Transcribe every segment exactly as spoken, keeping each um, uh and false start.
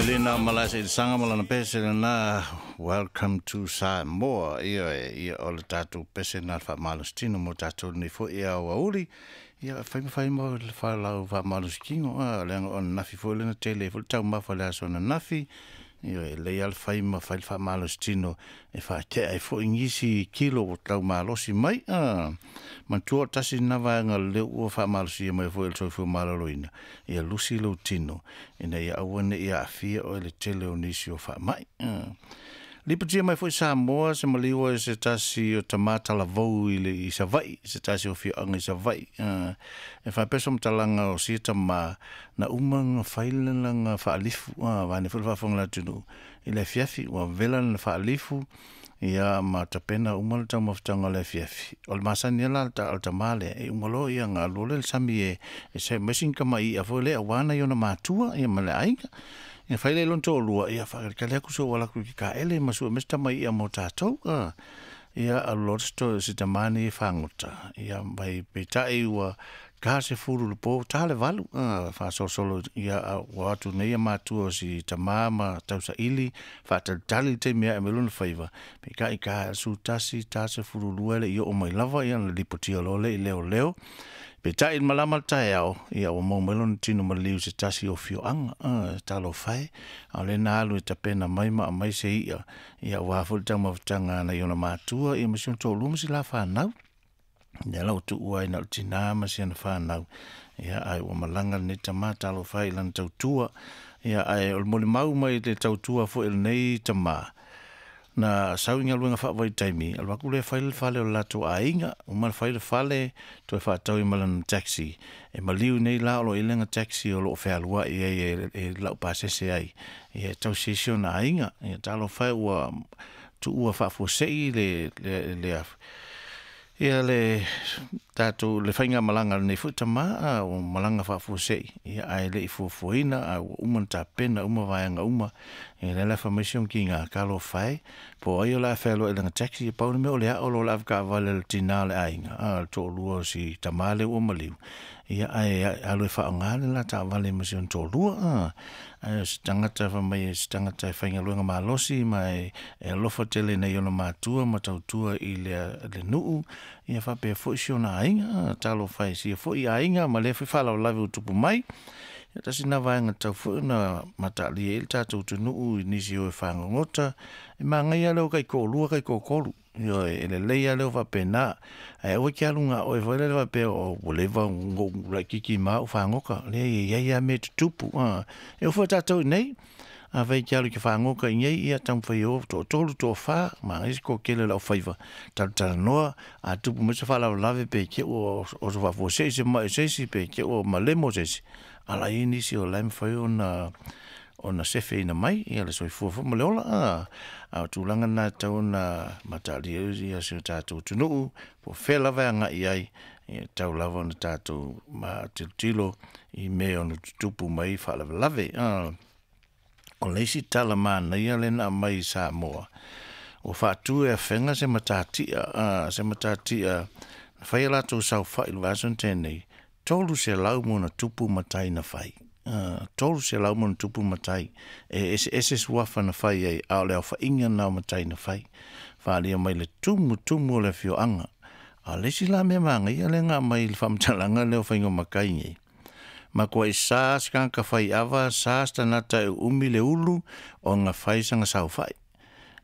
Lena Malasa i sanga malana pese na welcome to Samoa ia ia o le tatou pese na faamalositino mo tatou nei foi ia aoauli ia fai ma fai mo le falau faamalositino a leaga o ananafi foi lena tele foi le taumafa le aso ananafi ia e lelei a le fai ma fai le faamalositino e faatea ai foi nisi kilo ua taumalosi mai a manatua o le tasi lena vaega lea ua faamalosia mai foi e le soifua maloloina ia lusi lou tino ina ia aua nei aafia oe i le tele o nisi o faamai. Lipotia mai foi Samoa se maliu e se tasi o tamā talavou i le i Savaii se tasi o afioaga i Savaii e faapea se matalaga o sia tamā na uma ona fai lana faalifu a vaeane foi le faafofoga a le atunuu i le afiafi ua vela lana faalifu ia ma tapena uma le taumafataga o le afiafi o le masani lava la o le tamā lea e uma loa ia ona alu loa lea i le sami e e serve mai sina tama'i'a foi lea auā nai ona matua ia ma le aiga. Ia fai lea i lona toalua ia faatalitali atu se i ou alu atu i le taele ma sue mai se tama i'a mo tatou a. Ia alu loa si tamā lenei e fagota ia mai peitai ua ta le sefulu i le po ta le valu a faasolosolo ia ua o atu nei matua o si tamā ma tausaili faatalitali le taimi e ae mai ai lona faiva peitai ta le sefulutasi ta le sefululua e le i oo mai lava ia ona lipotia loa lea i leoleo. Peitai i le malama o le taeao ia ua maua mai lona tino maliu i se tasi o afioaga a talofa e a o lea na alu e tapena mai ma aumai se i'a ia aua foi le taumafataga a nai ona matua ia ma si ona toalua ma si la fanau. Lea la ua tuua ai na o le tinā ma si ana fanau ia ae ua malaga lenei tamā talofa e i lana tautua ia ae o le molimau mai le tautua foi a lenei tamā na sau i galuega faavaitaimi alu atu lea fai le fale o le latou aiga uma ona fai le fale toe faatau ai ma lana taxi e maliu nei la o lo o i ai lana taxi o lo o fealuai ai e laupasese ai ia e tausi ai si ona aiga. Ia talofa e ua tuua faafuasei le le le ia le tatou le faigamalaga a lenei foi tamā a ua malaga faafuasei ia ae le i fuafuaina ae ua uma ona tapena uma vaega uma. Ia lea la e fai mai si ona tiga talofa e po o ai o le a fealuai i lana taxi e pau le mea o le ao loa o le avetaavale a le tinā o le aiga a le toalua o si tamā lea ua maliu ia ae alu e faaaoga le la taavale ma si ona toalua a. Ae o se tagata fai mai o se tagata e faigaluega malosi ma e alofa tele i nai ona matua ma tautua i le nuu ia faapea foi si ona aiga. Talofa e i sia foi aiga ma lea foi faalavelave ua tupu mai. Ia tasi lena vaega tatau foi ona mataalia ai le tatou atunuu i nisi o e fagogota e manaia lava le o taitoalua taitoatolu ioe e lelei lava le o faapena ae aua e te alu na o oe foi lele faapea ua leva ona ou laitiiti ma au fagota. Leai e i ai lava mea e tutupu a e oo foi ia tatou i inei afai e te alu e te fagota i inei ia taumafai e o toatolu toafa manaia se toatele o le aufaiva talatalanoa a tupu mai se faalavelave pe te i ua oso faafuasei se mai o se isi pe te i ua malemo se isi a o la e i ai nisi o la e mafai ona ona sefeina mai ia le soifua foi ma le ola a. A o tulaga na e tatau ona mataalia ai si o tatou atunuu po o fea lava e agai i ai e tatau lava ona tatou tilotilo i mea e ono tutupu mai ai faalavelave. O le isi tala manaia lea na aumai i Samoa ua faatu e Afega se matatia a se matatia na fai a latou saofai i le vaiaso na tea nei tolu selau ma ona tupu matai na fai. Tolu selau ma ona tupu matai e eseese suafa na fai ai a o le aofaiga lena o matai na fai faaalia mai le tumutumu o le afioaga. A o le isi la mea manaia lea na aumai i le faamatalaga lea o faiga o matai nei matuai sa se tagata faiava sa se tagata e uumi le ulu ona fai sana saofai.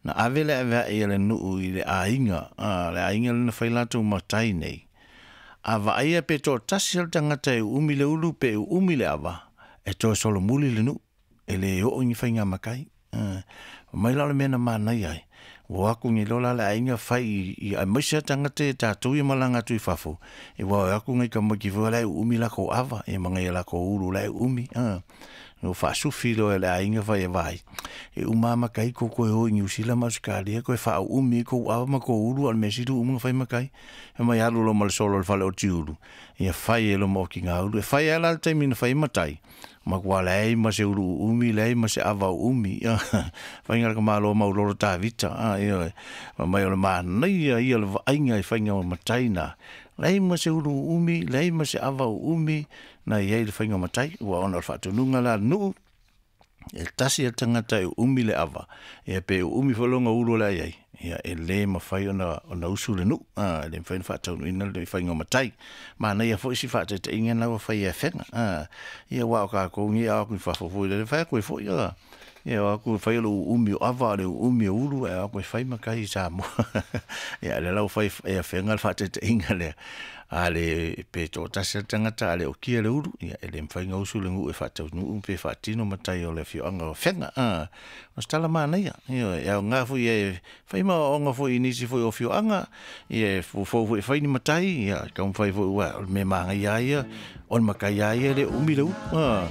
Na ave le avea'i a le nuu i le aiga a le aiga lea na fai latou matai nei a vaaia pe toatasi lava le tagata e uumi le ulu pe uumi le ava e toe solomuli le nuu e le oo i ni faiga matai. Fai mai la o le mea na manaia ai ua o atu nei loa la le aiga fai i aemaise lava tagata ia tatou ia e malaga atu i fafo aua e o atu nai tamaiti foi la e uumi latou ava ia ma nai a latou ulu la e uumi a. Ua faasufi loa e le aiga fai e vaai e uma lava matai tou toe o i Niu Sila ma Ausetalia toe faauumi ai tou ava ma tou ulu a o le mea sili ua uma ona fai matai. Fai mai alu loa ma le solo i le fale otiulu ia fai ai loa ma otigaulu. E fai lava la le taimi na fai ai matai matua leai ma se ulu uumi leai ma se ava uumi faiga le tamaloa maulolo Tavita a ioe. Fai mai o le manaia ia o le vaaiga i faiga o matai na leai ma se ulu uumi leai ma se ava uumi na i ai le faiga o matai ua ona o le faatonuga la a le nuu. E tasi le tagata e uumi le ava, ia pe uumi foi lona ulu o le a i ai, ia e lē mafai ona ona usu le nuu, a e le mafai ona faataunuuina le faiga o matai. Manaia foi si faataitaiga na ua fai e Afega, a ia uā o kakou nei a o atu i fafo foi lele fai atu ai foi a ia o atu e fai o le uumi o ava o le uumi o ulu ae o atu e fai matai i Samoa. Ia lea la ua fai e Afega le faataitaiga lea, a le pe toatasi le tagata a le okia le ulu, ia e le mafai ona usu le nuu e faataunuu pe faatino matai o le afioaga o Afega. A o se tala manaia, ioe, e aoga foi e fai ma aoaoga foi i nisi foi o afioaga, ia e foufou foi e fai ni matai, ia taumafai foi, uā o le mea manaia lava ia o le matai lava ia e le o umi le ulu. A